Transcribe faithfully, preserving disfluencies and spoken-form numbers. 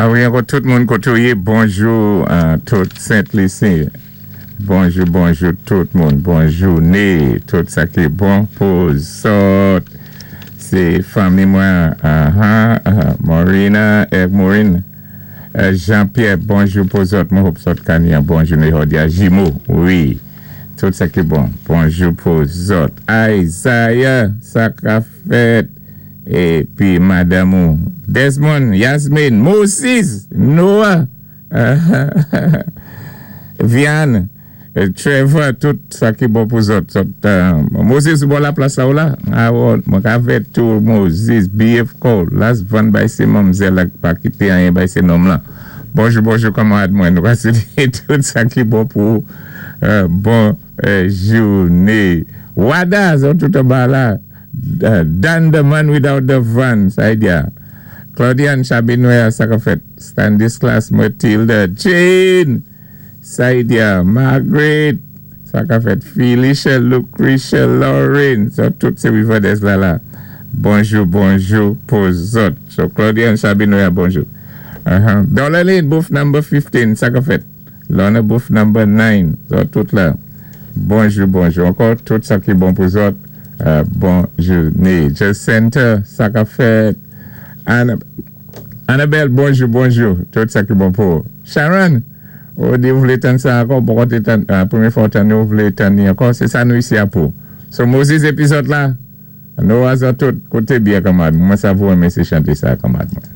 A wi, ankò tout moun koté ou yé, bonjou a tout Sent Lisi. Bonjou, bonjou tout moun. Bon jouné, tout sa ki bon pou zòt. Sé fanmi mwen, uh-huh, uh, Morina èk Maureen. Euh, Jean-Pierre, bonjou pou zòt. Mwen hope zòt ka ni an bon jouné jòdi-a. Jimo, wi. Tout sa ki bon. Bonjou pou zòt. Isaiah, sa ka fèt. Épi madanm ou. Desmond, Yasmine, Moses, Noah, Vianne, Trevor, tout sa ki bon pou zòt. Zòt, euh, Moses, bon la plas la ou la? A, bon, mwen ka fè tou Moses, B F Cole, las van bay sé manmzèl ak pa kité anyen bay sé nonm lan. Bonjou, bonjou, kanmarad mwen. Nou ka swété tout sa ki bon pou euh, bon euh, jouné. Wada, zòt tout anba la. Uh, Dan the man without the van, sa di ya. Claudiane Chabinoya, sa ka fèt. Stanislas Matilda, Jane, Saidia, Margaret, sa ka fèt. Felicia, Lucretia, Lauren, so tout sé Riverdale la la. Bonjou, bonjou pou zòt. So Claudiane Chabinoya, bonjou. Uh-huh. Dollar booth number fifteen, sa ka fèt. Lorna, booth number nine, so tout la. Bonjou, bonjou. Ankò, tout sa ki bon pou zòt. Uh, bon jouné. Jacinta, sa ka fèt. Anna, Annabelle, bonjou, bonjou. Tout sa ki bon pou. Sharon, ou di ou vlé tann sa ankò, pou koté tann, uh, pwémyé fwa tann ou vlé tann ni ankò, sé sa nou isi a pou. So Moses épi zòt la, nou a zòt tout, kouté byen kanmarad. Mwen sa vou renmen sé chanté sa kanmarad mwen.